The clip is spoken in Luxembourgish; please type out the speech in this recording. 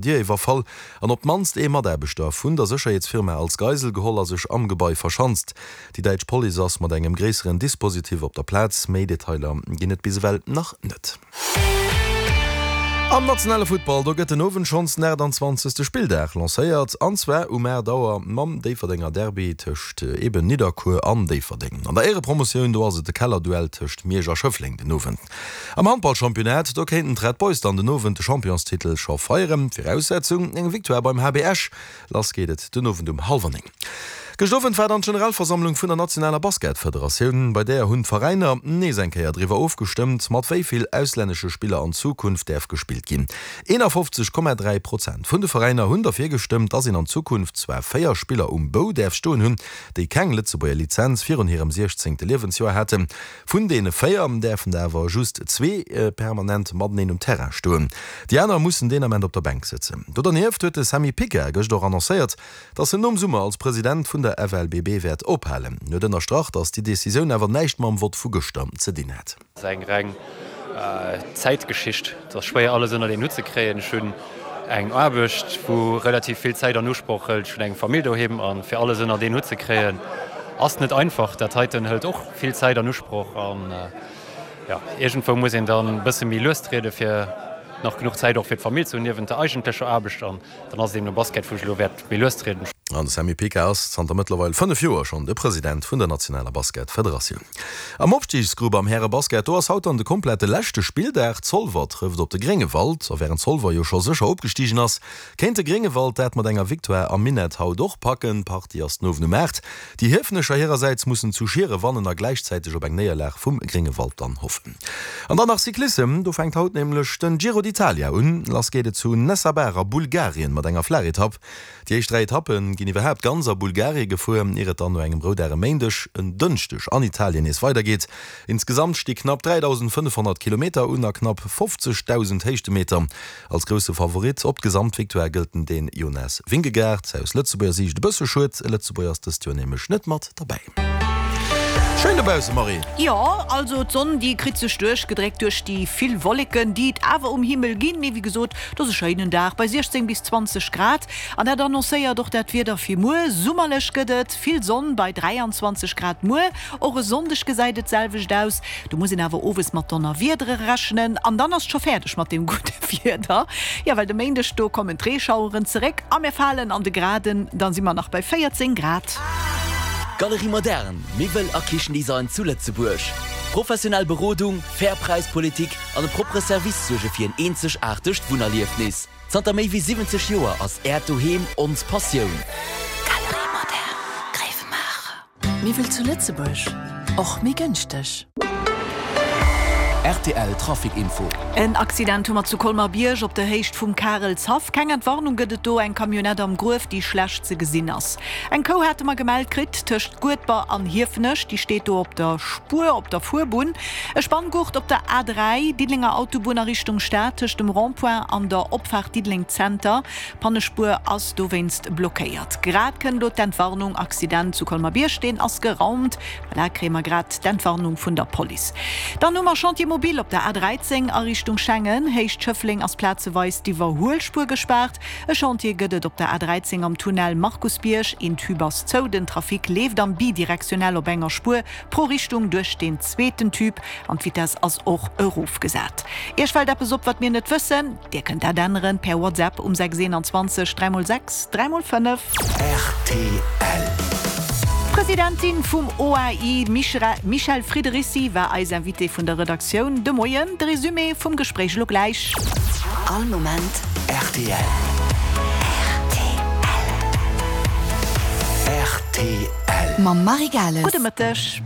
Dier iwwerfall an op d'mannst ee Mataarbechter vun der Sécherheetsfirma als Geisel geholl a sech am Gebai verschanzt. Déi däitsch Police ass mat engem gréisseren Dispositif op der Plaz. Méi Detailer ginn et bis ewell nach net. Am nationale Futtball, do gëtt den Owend schonns den 28. Spilldag lancéiert, an zwar um 8 Auer mam Déifferdenger Derby tëscht eben Nidderkuer an Déifferdeng. An der Éierepromotioun, do ass et de Kellerduell tëscht Miersch a Schëffleng den Owend. Am Handballchampionnat, do kéinten d'Red Boys dann den Owend de Championstitel scho feieren. Viraussetzung, eng Victoire beim HB Esch. Lass geet et den Owend um hallwer 9. Gëscht Owend war dann d'Generalversammlung vun der nationaler Basketfederatioun. Bei där hunn d'Veräiner nees eng Kéier driwwer ofgestëmmt, mat wéi vill auslännesche Spiller an Zukunft däerf gespillt ginn. 51,3 Prozent vun de Veräiner hunn derfir gestëmmt, dass een an Zukunft zwar 4 Spiller um Bou däerf stoen hunn, déi keng Lëtzebuerger Lizenz virun hirem 16. Liewensjoer haten. Vun deene 4 däerfen der awer just zwee permanent mateneen um Terrain stoen. Déi aner mussen deen Ament op der Bänk sëtzen. Do dernieft huet de Sammy Picard gëscht och annoncéiert, datt en nom Summer als President vun der FLBB wäert ophalen. En huet ënnerstrach, datt déi Decisioun awer näischt mam Vott vu gëschter ze dinn hätt. Ass eng reng Zäitgeschicht. Et ass schwéier alles ënnert een Hutt ze kréien. Ech hunn eng Aarbecht wou relativ vill Zäit an Usproch hëlt. Ech hunn eng Famill doheem a fir alles ënnert een Hutt ze kréien ass net einfach. Dat heiten hëlt och vill Zäit an Usproch an jo iergendwou muss een dann e bësse méi lues triede fir nach genuch Zäit och fir d'Famill ze hunn niewent der eigentlecher Aarbecht an dann ass et eben de Basket wou ech elo wäert méi lues trieden. An de Sammy Picard ass zanter mëttlerweil 5 Joer schonn de President vun der nationaler Basketfederatioun. Am Opstigsgrupp am Härebasket, do ass haut dann de komplette leschte Spilldag. Zolwer trëfft op de Gréngewald a wärend Zolwer jo scho sécher opgestigen ass, kéint de Gréngewald dat mat enger Victoire am Minett haut och packen. D'Partie ass den Owend um 8. Déi Hiefenecher hirersäits mussen zu Schiere wannen a gläichzäiteg op eng Néierlag vum Gréngewald dann hoffen. An dann nach Cyclissem, do fänkt haut nämlech den Giro d'Italia un. Lass geet et zu Nessebar a Bulgarien mat enger Flaachetapp. Déi éischt 3 Etappe ginn iwwerhaapt ganz a Bulgarie gefuer, ier et dann no engem Roudag e Méindeg, en Dënschdeg an Italien nees weidergeet. Insgesamt sti knapp 3.500 Kilometer un a knapp 50.000 Héichtemeter. Als grousse Favorit op d'Gesamtvictoire gëllt den Dän Jonas Vingegaard. Aus Lëtzebuerger Siicht e bësse schued, e Lëtzebuerger ass dëst Joer nämlech net mat derbäi. Schéin dobausse Marie! Jo, also d'Sonn déi kritt sech duerchgedréckt duerch déi vill Wolleken déi et awer um Himmel ginn, mee wéi gesot, et ass e schéinen Dag bei 16 bis 20 Grad an dat annoncéiert och dat Wieder fir muer. Summerlech gëtt et, vill Sonn bei 23 Grad muer. Och e Sonndeg gesäit et d'selwecht aus, do muss een awer owes mat Donnerwiedere rechnen an dann ass et scho fäerdeg mat deem gudde Wieder. Jo, well de Méindeg do kommen d'Reeschaueren zeréck a mir falen an de Graden, dann si mer nach bei 14 Grad. Galerie Moderne, Miwwel a Kichendesign zu Lëtzebuerg. Professionell Berodung, fair Präispolitik an e proppere Service suerge fir en eenzegaartegt Wunnerliefnis. Zanter méi wéi 70 Joer ass Äert Doheem ons Passioun. Galerie Moderne, Gréiwemaacher. Miwwel zu Lëtzebuerg, och méi gënschteg. Rtl Trafic Info. En Accident hu mer zu Colmar-Bierg op der Héicht vum Karelshaff. Keng Entwarnung gëtt et do, eng Camionnette am Gruef, déi schlecht ze gesinn ass. Eng Kou hate mer gemellt kritt tëscht Guedber an Hiefenech, déi steet do op der Spuer, op der Fuerbunn. E Spanngurt op der A3, Diddelenger Autobunn a Richtung Stad, tëscht dem Rond-point an der Opfaart Diddeleng Zenter. D'Pannespuer ass dowéinst blockéiert. Grad kënnt elo d'Entwarnung, Accident zu Colmer-Bierg, deen ass geraumt. Voilà, kréie mer grad d'Entwarnung vun der Police. Dann hu mer Chantier mobile op der A13 a Richtung Schengen. Héicht Schëffleng ass plazeweis d'Iwwerhuelspuer gespaart. E Chantier gëtt et op der A13 am Tunnel Markusbierg. Een Tube ass zou, den Trafic leeft am bidirektionell op enger Spuer pro Richtung duerch deen zweeten Tube an d'Vitess ass och erofgesat. Iech fält eppes op, wat mir net wëssen? Dir kënnt dat änneren per WhatsApp um 6 21 3 x 6 3 x 5. Rtl. D'Presidentin vum OAI, d'Michèle Friedericy, war eis Invitée vun der Redaktioun de Moien. De Resumé vum Gespréich elo gläich. All Moment rtl. Rtl. Rtl. Mam Marie Gales. Gudde Mëtteg.